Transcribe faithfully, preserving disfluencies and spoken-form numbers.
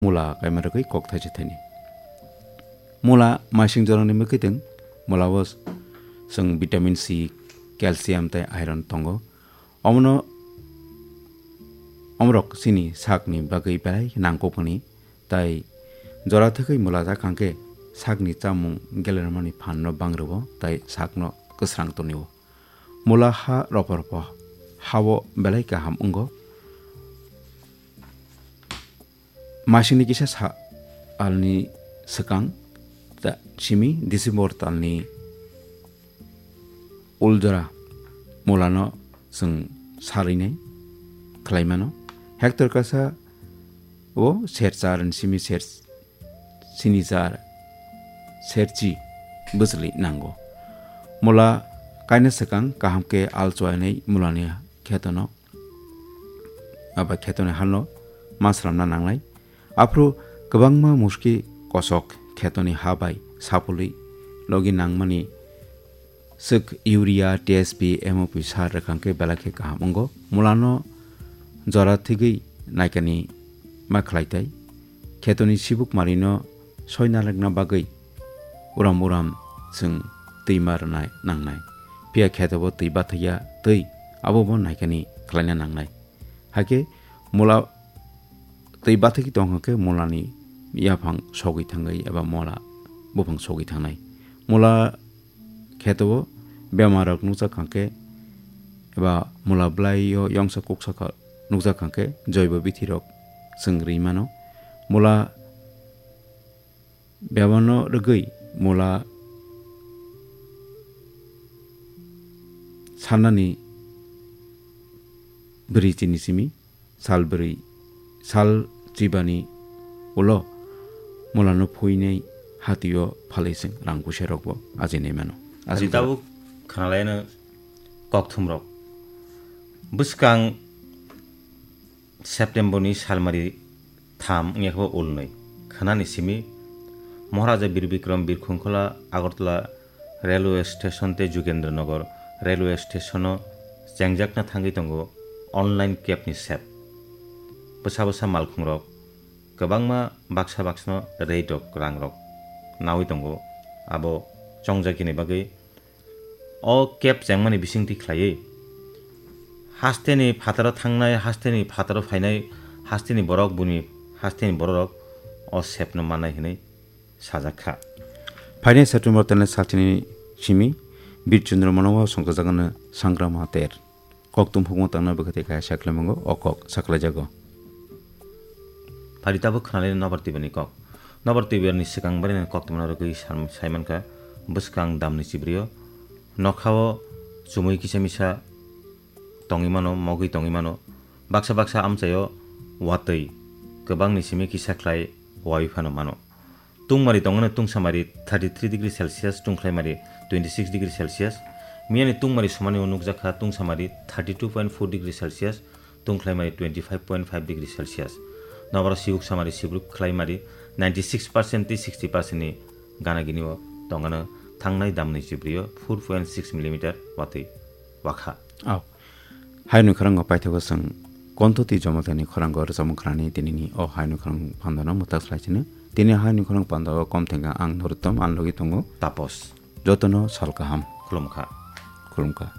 mula kaima rwgwi kok thaisa thaini. Mula maising jorani mwkhwtwng, mula o chwng vitamin C, calcium tei iron tongo. Omono, omorok chini sakni bagwi belai nangkukmani, tai jora thwgwi mula jak hwnkhe sakni chamung gelermani phanno bang rwo tai sakno kwsrang tonio. Mula ha ropo ropo ha-o belai kaham wngo. Masingni kisa sa-, alni swkang ta-, simi December talni uljora mulano chwng sarwinai khlaimano. Hector kasa o serchar ni simi ser-, sinichar serchi bwchwlwi nango. Mula kaina swkang kaham khe al chuainai mulani khetono aba khetoni halno ma slamna nangnai. Aphuru kwbangma muski kosok khetoni ha bai sapulwi logi nangmani swk urea, T S P, M O P sar rwkha hwnkhe belai khe kaham wngo. Mulano jora thwgwi naikani ma khlai tai. Khetoni sibuk marino soi nalekna bagwi uram uram chwng twi ma rwnai nangnai. Phiya kheto bo twi bathakya twi abo bo naikani khlaina nangnai. Hakhe mula twi bathakwi tong hwnkhe mulani yaphang sogwi thangwi eba mula buphang sogwi thangnai. Mula kheto o bemar rok nukjak hwnkhe eba mula blai o yongsa kuksa kha nukjak hwnkhe joibo bithi rok chwng ri mano. Mula bebano rwgwi mula sanani bwrwi chini simi sal bwrwi, sal chibani ulo mulano phuinai hatio phalwi chwng rang kusa rokbo ajinai mano. Aswk tabuk khanalaino kokthumrok. Bwskang September ni salmari tham wngya khe bo ulnwi. Khanani simi Maharaja Bir Bikram Birkhungkhola Agartala railway station tei Jugendra Nagar railway station o chengjakna thangwi tongo online cab ni sep. Bwsa bwsa malkhungrok kwbangma baksa baksano rate rok rangrok nawi tongo. Abo chongjakini bagwi o cab chengmani bisingtwi khlaiwi hasteni phataro thangnai, hasteni phataro phainai, hasteni borok buni hasteni bororok o sepno mannai hwnwi sajak kha. Phainai September talni salchini simi Bir Chandra Manowa songchajakno Sangrama Ter. Kokthum hukma tangna bwkha tei kaisa khlaimungo o kok saklaijago. Phari tabuk khnalai nobar twibarni kok. Nobar twibarni swkang barino koktwmano rwgwi sam-, saimankha bwskang damni chibrio nokhao chumui kisa misa tongwi mano, mogwi tongwi mano. Baksa baksa amchaio watwi kwbangni simi kisa khlai wai phano mano. Tungmari tongmani tungsamari thirty three degree Celsius, tungkhlaimari twenty six degree Celsius. Miyani tungmari somani o nukjakha tungsamari thirty two point four degree Celsius, tungkhlaimari twenty five point five degree Celsius. Nobaro sibuk samari sibruk khlaimari ninety six percent tei sixty percent ni gana gini o tongano thangnai damni chibrio four point six millimeter watwi wakha. Au. Haino khorang paithago chwng Kontho tei Jomatani khorango rwchapmung khnani tinini o haino khorang pandano mwtak slai sino. Tini haino khorang pandao kom thengkha ang Nuruttom, ang logi tongo Tapos. Jotono sal kaham. Khulumkha. Khulumkha.